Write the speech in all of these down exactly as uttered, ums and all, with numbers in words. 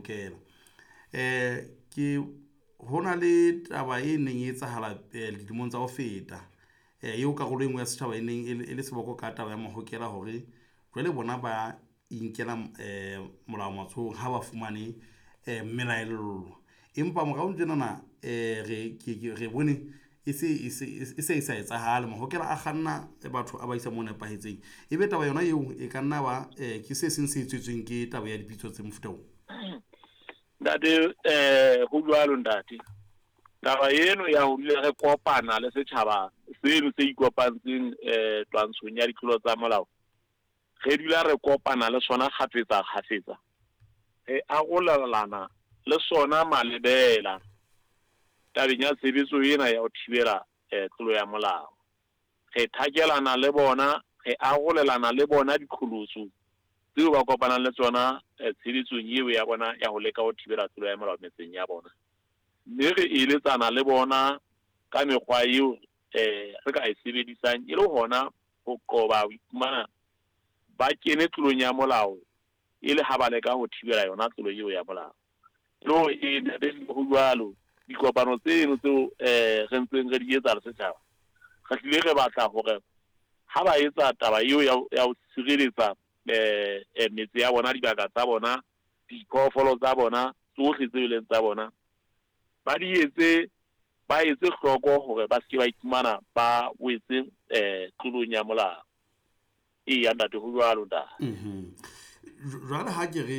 Mahokela. Eh ke hona le taba e neng e etsahala dilemong tsa ho feta eo karolo e nngwe ya setjhaba e neng e le seboko ka taba ya Mahokela hore jwale bona ba inkela molao matsohong ha ba fumane melaello. Empa morao tjenana re re bone e se e se e sa etsahale. Mahokela a kganna batho a ba isa mo nepahetseng. Ebe taba yona eo e ka nna ba ke se seng se tswetsweng ke taba ya dipitso tse mofuta oo. Ntate, eh ho jwalo ntate. Taba eno ya ho dula re kopana le setjhaba seno se ikopantseng eh twantshong ya ditlolo tsa molao. Re dula re kopana le sona kgafetsa kgafetsa. Re arolelana le sona malebela tabeng ya tshebetso ena ya ho thibela tlolo ya molao. Re thakelana le bona, re arolelana le bona diqholotso tseo ba kopanang le tsona tshebetsong eo ya bona ya ho leka ho thibela tlolo ya molao metseng ya bona. Mme re eletsana le bona ka mekgwa eo eh re ka e sebedisang e le hona ho qoba ho iphumana ba kene tlolong ya molao e le ha ba leka ho thibela yona tlolo eo ya molao. Lo e ntate ho jwalo dikopano tseno tseo eh re ntseng re di etsa le setjhaba. Re hlile re batla hore ha ba etsa taba eo ya ho sireletsa eh metse ya bona, dibaka tsa bona, diphoofolo tsa bona, tsohle tse leng tsa bona, ba di etse, ba etse hloko hore ba se ke ba iphumana ba wetse eh tlolong ya molao. Eya ntate, ho jwalo ntate. Mhm. Jwale ha ke re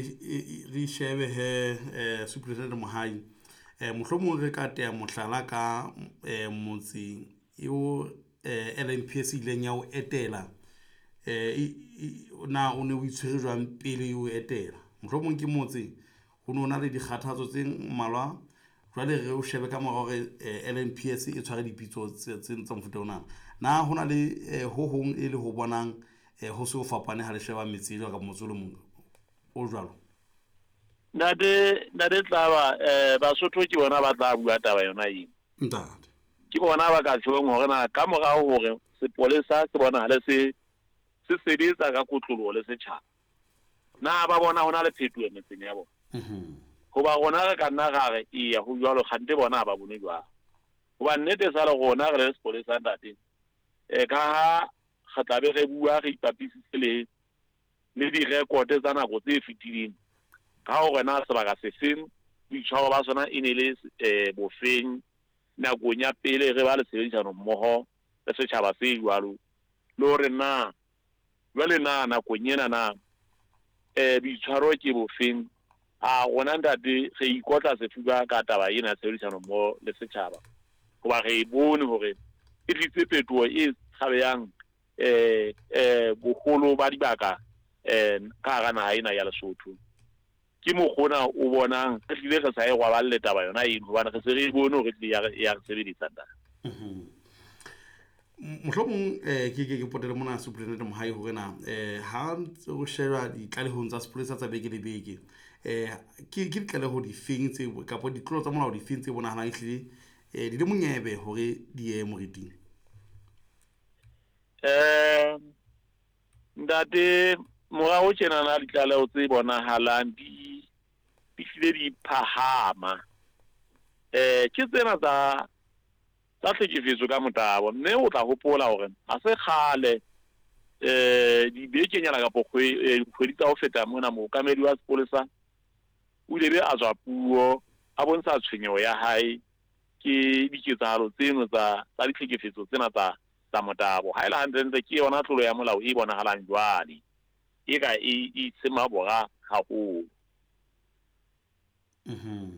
re shebe he Superintendent Mohai, eh mohlomong re ka teya mohlala ka motse eo L N P S ileng ya o etela, eh na o ne o itshwere jwang pele o etela? Mohlomong ke motse ho no na le dikgathatso tse mmalwa, jwale re o shebe ka mora hore L N P S e tshware dipitso tse tsa mofuta ona. Na hona le ho hong e le ho bonang ho se ho fapane ha le sheba metse e jwalo ka motse o le mong o jwalo? Ntate, ntate Tlaba, eh Basotho ke bona ba tla bua taba yona eo. Ntate. Ke bona ba ka tjhong hore na ka morao hore sepolesa se bonahale se se sebetsa ka kotloloho le setjhaba. Na ba bona hona le phetoho metseng ya bona. Mhm. Hoba rona re ka nna ra re eya ho jwalo, kgante bona ha ba bone jwalo. Hoba nnete sa le rona re le sepolesa ntate, eh ka ha re tla be re bua re ipapisitse le le direkote tsa nako tse fetileng ka hore na sebaka se feng boitshwaro ba sona e ne le eh bofeng nakong ya pele re ba le tshebedisano mmoho le setjhaba se jwalo, le hore na jwale na nakong ena na eh boitshwaro ke bofeng. A rona ntate re ikotla sefuba ka taba ena ya tshebedisano mmoho le setjhaba, hoba re e bone hore e tlise phetoho e tshabehang eh eh boholo ba dibaka eh ka hara naha ena ya Lesotho. Ke mokgona o bonang re hlile re sa e rwaballe taba yona eno, hobane re se re bone hore tlile ya re sebedisa ntate. Mhm. Mohlomong eh ke ke ke potele mona Superintendent Mohai hore na eh ha ntse o sheba ditlalehong tsa sepolesa tsa beke le beke, eh ke ke ditlaleho difeng tse kapa ditlolo tsa molao difeng tse bonahalang ehlile eh di le monyebe hore di ye moriting? Eh ntate, morao tjena na ditlaleho tse bonahalang di di hlile di phahama eh ke tsena tsa tsa tlhekefetso ka motabo. Mme o tla hopola hore ha se kgale eh dibekenyana kapa kgwedi tsa ho feta mona, mookamedi wa sepolesa o ile be a tswa puo a bontsha tshwenyeho ya hae ke diketsahalo tseno tsa tsa ditlhekefetso tsena tsa tsa motabo. Ha e le hantlentle ke yona tlolo ya molao e bonahalang jwale e ka e itshema bora haholo. Mhm.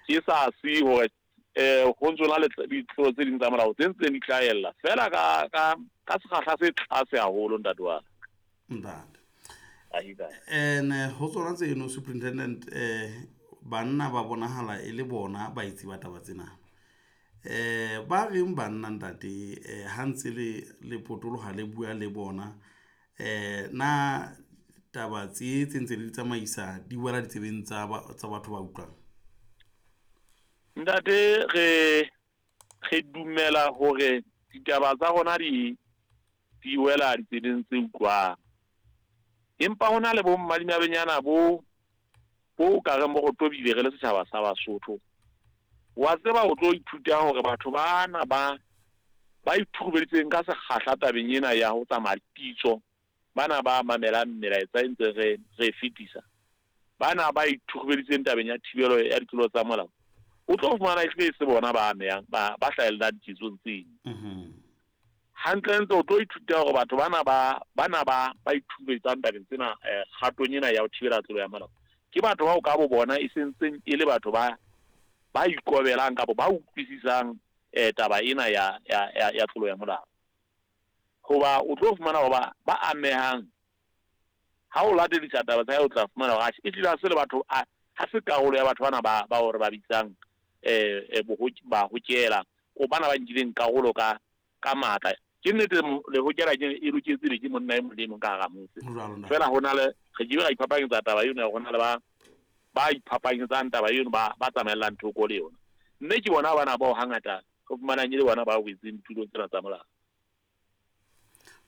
Ke sa se hore eh ho ntso na le ditlolo tse ding tsa molao tse ntseng di tlaella fela ka ka ka sekgahla se tlase haholo ntate wa ka. Ntate. Ene ho tsona tseno Superintendent, eh banna ba bonahala e le bona ba itse ba taba tsena. Eh ba reng banna ntate, eh ha ntse le le potoloha le bua le bona, eh na taba tse tse ntse le di tsamaisa di wela ditsebeng tsa tsa batho ba utlwang? Ntate, re re dumela hore ditaba tsa rona di di wela ditsebeng tse utlwang. Empa hona le bo mmadimabenyana bo Bo ka re mo go tobile re le setjhaba sa Basotho. Wa tseba o tlo ithuta hore batho bana ba ba ithurubeditseng ka sekgahla tabeng ena ya ho tsamaya pitso, bana ba mamelang melaetsa e ntse re re fetisa, bana ba ithurubeditseng tabeng ya thibelo ya ditlolo tsa molao, o tlo fumana ehlile e se bona ba amehang, ba ba hlahellang diketsong tseno. Hantlentle o tlo ithuta hore batho bana ba bana ba ba ithurubetsang tabeng tsena kgatong ena ya ho thibela tlolo ya molao ke batho bao ka bo bona e sentseng e le batho ba ba ikobelang kapa ba utlwisisang eh taba ena ya ya ya tlolo ya molao. Hoba o tlo fumana hoba ba amehang ha o latedisa taba tsa o tla fumana hore e tlile se le batho ha se karolo ya batho bana ba ba hore ba bitsang eh ba hokela o bana ba nkileng karolo ka ka matla. Ke nnete le hokela ke e loketse le ke monna e mong le mong ka hara motse. Fela hona le re ke ra iphapanyetsa taba eno, hona le ba ba iphapanyetsang taba eno ba ba tsamaellang thoko le yona. Mme ke bona bana bao hangata re fumanang e le bona ba wetseng ditulong tsena tsa molao.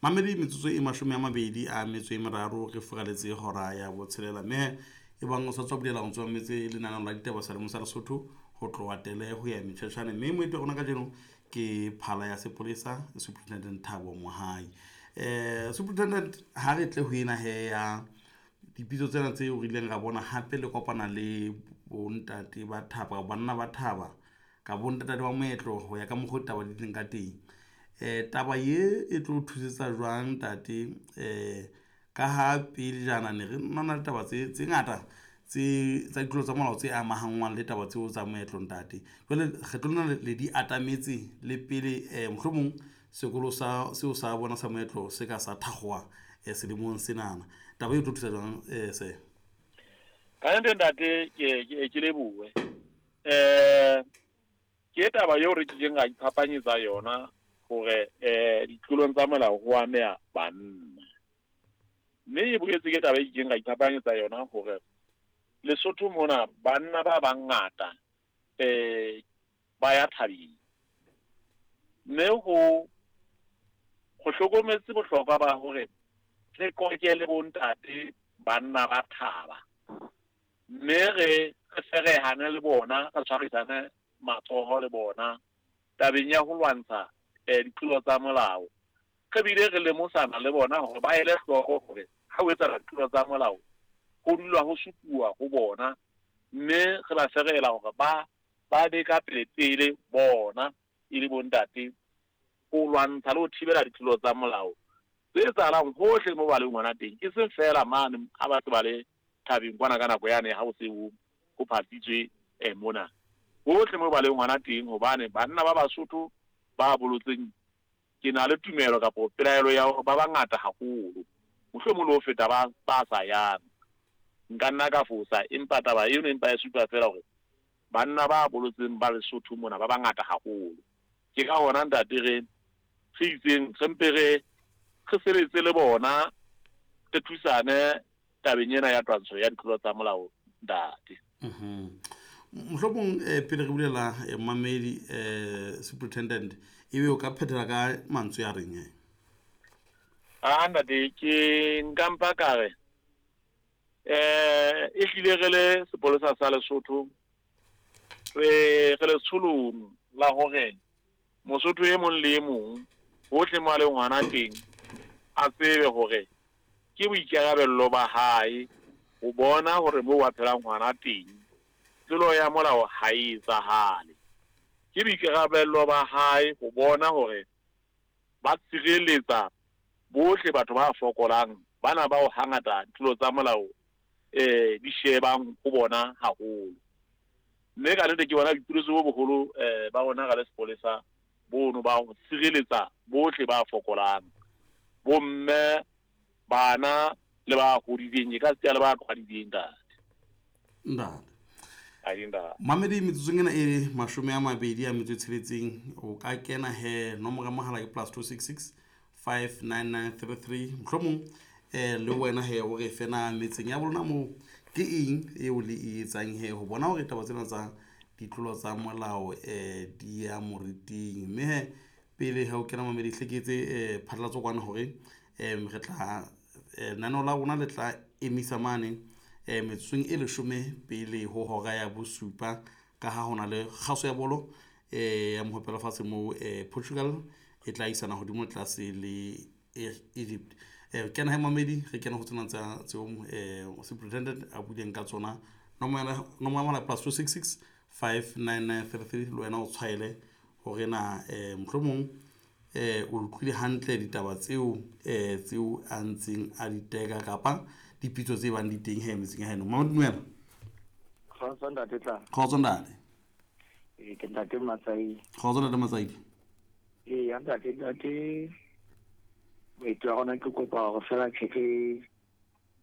Mamedi metsotso e mashome a mabedi a metso e meraro re furaletse hora ya botshelela, mme e bang o sa tswa bulela o tswa metse lenaneo la ditaba sa Lemosa Lesotho ho tloha tele ho ya metjhatjhane. Mme moeti wa rona kajeno ke phala ya sepolesa Superintendent Thabo Mohai. Eh Superintendent, ha re tle ho ena he ya dipitso tsena tseo re ileng ra bona hape le kopana le bontate ba thaba, banna ba thaba ka bontate ba moetlo ho ya ka mokgwa taba di leng ka teng. Eh taba ye e tlo thusetsa jwang ntate eh ka ha pele jana ne re nna le taba tse tse ngata tse tsa ditlolo tsa molao tse amahanngwang le taba tseo tsa moetlo ntate. Jwale kgetlo lena le di atametse le pele eh mohlomong sekolo sa seo sa bona sa moetlo se ka sa thakgowa eh selemong senana. Taba e tlo thusa jwang eh se? Ka nnete ntate ke ke ke lebohe. Eh ke taba eo re kileng ra iphapanyetsa yona hore eh ditlolong tsa molao ho ameha banna. Mme e boetse ke taba e kileng ra iphapanyetsa yona hore Lesotho mona banna ba bangata eh ba ya thabeng. Mme ho ho hlokometse bohlokwa ba hore re koke le bontate banna ba thaba, mme re re ferehane le bona, re tshwarisane matsoho le bona tabeng ya ho lwantsha eh ditlolo tsa molao. Re bile re lemosana le bona hore ba ele hloko hore ha o etsa ditlolo tsa molao ho dula ho supuwa ho bona, mme re ba ferela hore ba ba be ka pele pele bona e le bontate ho lwantsha le ho thibela ditlolo tsa molao tse etsahalang hohle mo ba leng hona teng, e seng feela mane ha ba se ba le thabeng kwana ka nako yane ha ho se ho ho phatlitswe eh mona, hohle mo ba leng hona teng. Hobane banna ba Basotho ba bolotseng ke na le tumelo kapa pelaelo ya hore ba bangata haholo, mohlomong le ho feta ba ba sa yang. Nka nna ka fosa, empa taba eno empa e supa feela hore banna ba bolotseng ba Lesotho mona ba bangata haholo. Ke ka hona ntate re re itseng re mpe re re sebetse le bona, re thusane tabeng ena ya twantsho ya ditlolo tsa molao ntate. Mhm. Mohlomong eh pele re bulela mamedi eh Superintendent ebe o ka phethela ka mantswe a reng eh? Ah ntate ke nka mpa ka re eh e hlile re le sepolesa sa Lesotho re re letsholong la hore Mosotho e mong le e mong hohle mo a leng hona teng a tsebe hore ke boikarabello ba hae ho bona hore moo a phelang hona teng tlolo ya molao ha e etsahale. Ke boikarabello ba hae ho bona hore ba tshireletsa bohle batho ba fokolang bana bao hangata ditlolo tsa molao eh di shebang ho bona haholo. Mme ka nnete ke bona boipiletso bo boholo eh ba rona ra le sepolesa bono ba ho tshireletsa bohle ba fokolang, bomme, bana le ba hodileng, e ka se le ba qhwadileng ntate. Ntate. Mamedi metsotsong ena e mashome a mabedi a metso e tsheletseng o ka kena he nomoro ya mohala ke plus two six six five nine nine three three. Mohlomong eh le wena he o re fena metseng ya bolona moo ke eng eo le e etsang he ho bona hore taba tsena tsa ditlolo tsa molao eh di ya moriting. Mme he pele ha o kena mamedi hleketse eh phatlalatso kwana hore em re tla lenaneo la rona le tla emisa mane eh metsotsong e leshome pele ho hora ya bosupa ka ha hona le kgaso ya bolo eh ya mohopelo fatshe mo eh Portugal e tla isana hodimo tlase le Egypt. Eh kena he mamedi re kena ho tsena tsa tseo eh superintendent a buileng ka tsona. Nomoro nomoro plus two six six five nine nine three three le wena o tshwaele hore na eh mohlomong eh o utlwile hantle ditaba tseo eh tseo a ntseng a di teka kapa dipitso tse bang di teng he metseng ya heno. Mama dumela. Kgotso ntate tla. Kgotso ntate. Eh ke ntate Matsaidi. Kgotso ntate Matsaidi. Eh ya ntate ntate moeti wa rona ke kopa hore fela tjheke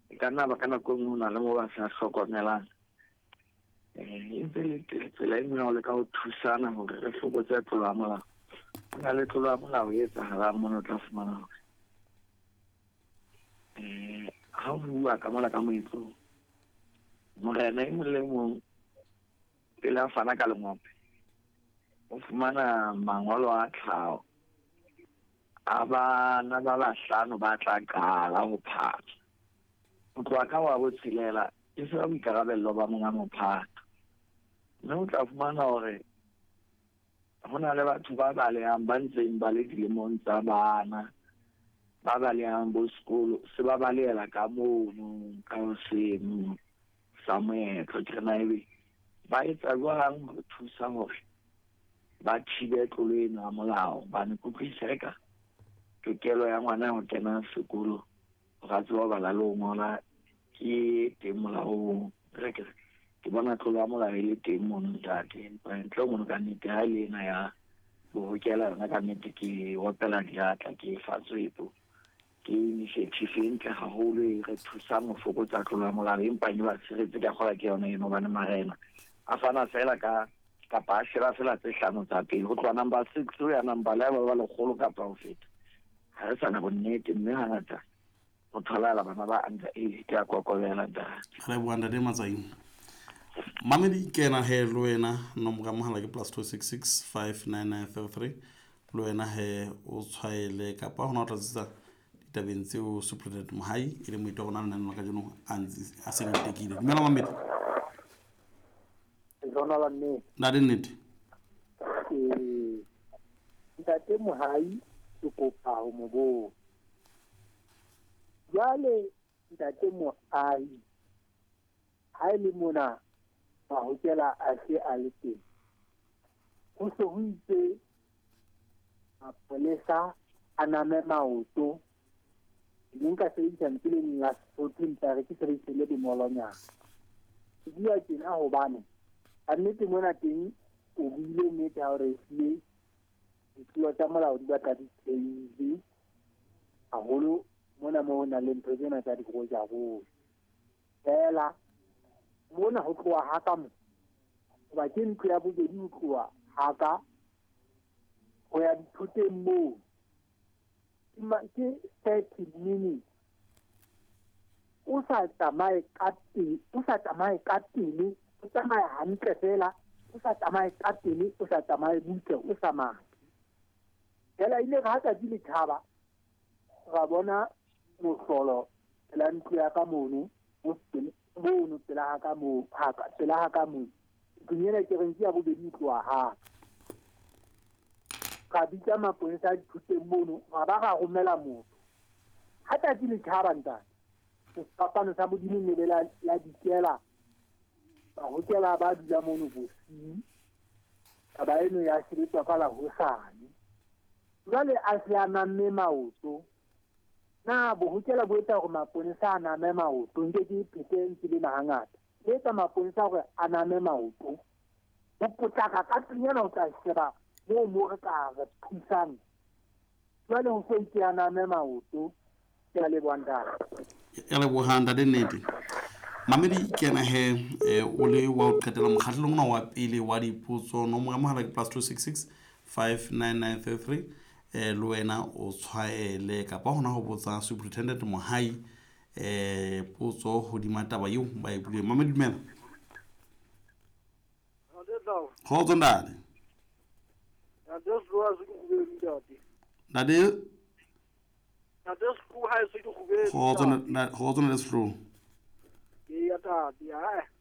e ka nna ba ka nako e nngwe ho na le mo ba sa hlokomelang. Eh e ntse le tsela e nngwe ya ho leka ho thusana hore re fokotse tlolo ya molao. Ho na le tlolo ya molao e etsahalang mona o tla fumana hore eh ha o bua ka mola ka moetlong, morena e mong le mong pele a fana ka lengope o fumana mangolo a tlhaho a bana ba bahlano ba tla qala ho phatha. Ho tloha ka wa botshelela e se ba boikarabello ba monga mophato. Mme o tla fumana hore ho na le batho ba balehang ba ntseng ba le dilemong tsa bana, ba balehang bo sekolo, se ba balehela ka mono ka seno sa moetlo. Ke re na ebe ba etsa jwang ho thusa hore ba thibe tlolo eno ya molao? Hobane ke utlwisisa eka tokelo ya ngwana ho kena sekolo hore a tsebe ho bala le ho ngola ke teng molaong. Re ke ke bona tlolo ya molao e le teng mono ntate, empa ntle ho mono ka nnete ha e le ena ya bohokela yona ka nnete ke opela diatla, ke fa tswepo. Ke initiative e ntle haholo e re thusang ho fokotsa tlolo ya molao, empa e ba tshiretse ka kgola ke yona eno hobane marena a fana fela ka kapa a sheba fela tse hlano tsa pele ho tloha number six ho ya number le ba ba lekgolo kapa ho feta. Ha re sana bonnete, mme hangata ho tholahala bana ba under age ke a kokobela ntate. Re bua ntate Matsaidi. Mamedi kena he le wena nomoro ya mohala ke plus two six six five nine nine three three le wena he o tshwaele kapa hona o tlatsetsa ditabeng tseo Superintendent Mohai e leng moeti wa rona lenaneo la kajeno a ntse a seng a tekile. Dumela mamedi. Lona la nnete. Ntate nnete. Eh ntate Mohai ke kopa ho mo botsa. Jwale ntate Mohai ha e le mona mahokela a se a le teng, ho se ho itse mapolesa a name maoto. Ne nka sebedisa lentswe le leng la Sesotho empa re ke sebedise le bonolonyana. Ke bua tjena hobane ka nnete mona teng o buile nnete ha o re ehlile ditlolo tsa molao di batla di theile haholo mona moo ho nang le ntho tsena tsa dirojaroja. Feela mona ho tloha ha ka mo, hoba ke ntlo ya bobedi ho tloha ha ka ho ya dithoteng moo ke thirty minutes. O sa tsamaye ka pele, o sa tsamaye ka pele, o tsamaya hantle fela, o sa tsamaye ka pele, o sa tsamaye butle, o sa mathe. Fela ile ha tsatsi le tjhaba ra bona mohlolo pela ntlo ya ka mono, mono pela ha ka moo, ha ka pela ha ka moo. Ntlong ena ke reng ke ya bobedi ho tloha ha ka. Ka bitsa mapolesa a dithoteng mono, ra ba ra romela motho. Ha tsatsi le tjhaba ntate, sefapano sa Modimo ne le la la dikela, bahokela ba dula mono bosiu. Taba eno ya sebetswa ka la hosane. Jwale a se a namme maoto. Na bohokela bo etsa hore maponesa a name maoto, nke ke phete ntse le hangata. E etsa maponesa hore a name maoto. Ho potlaka ka tlung ho tla sheba moo mo re ka re thusang. Jwale ho so itse a name maoto. Ke a leboha ntate. Ya leboha ntate nnete. Mamedi kena he o le wa ho qetela mokgahlelong ona wa pele wa dipotso. Nomoro ya mohala ke plus two six six five nine nine three three. Eh le wena o tshwaele kapa hona ho botsa Superintendent Mohai eh potso hodima taba eo ba e buileng. Mamedi dumela. Kgotso ntate. Ntate Slo ha se ke kgubedi ntate. Ntate Ntate Slo ha se ke kgubedi. Kgotso ntate, kgotso ntate Slo. Ee, ntate. Ae.